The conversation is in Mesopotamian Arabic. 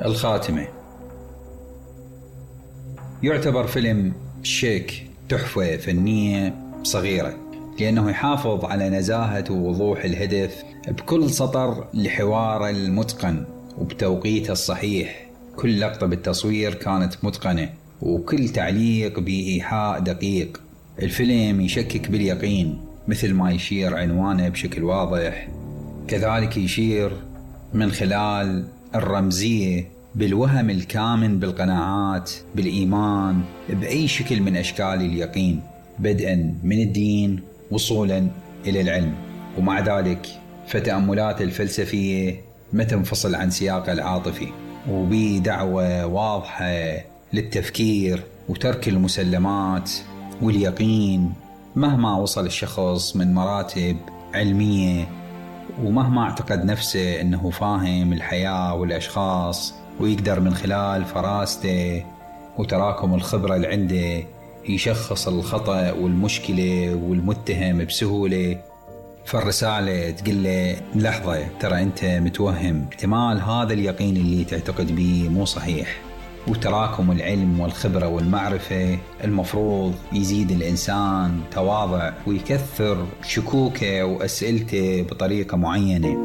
الخاتمة. يعتبر فيلم شيك تحفة فنية صغيرة، لأنه يحافظ على نزاهة ووضوح الهدف بكل سطر لحواره المتقن وبتوقيته الصحيح. كل لقطة بالتصوير كانت متقنة، وكل تعليق بإيحاء دقيق. الفيلم يشكك باليقين مثل ما يشير عنوانه بشكل واضح، كذلك يشير من خلال الرمزية بالوهم الكامن بالقناعات، بالإيمان، بأي شكل من أشكال اليقين، بدءا من الدين وصولا إلى العلم. ومع ذلك فتأملات الفلسفية ما تنفصل عن سياقه العاطفي، وبدعوة واضحة للتفكير وترك المسلمات واليقين مهما وصل الشخص من مراتب علمية، ومهما اعتقد نفسه أنه فاهم الحياة والأشخاص ويقدر من خلال فراسته وتراكم الخبرة اللي عنده يشخص الخطأ والمشكلة والمتهم بسهولة. فالرسالة تقول له لحظة، ترى أنت متوهم، احتمال هذا اليقين اللي تعتقد به مو صحيح. وتراكم العلم والخبرة والمعرفة المفروض يزيد الإنسان تواضع ويكثر شكوكه وأسئلته بطريقة معينة.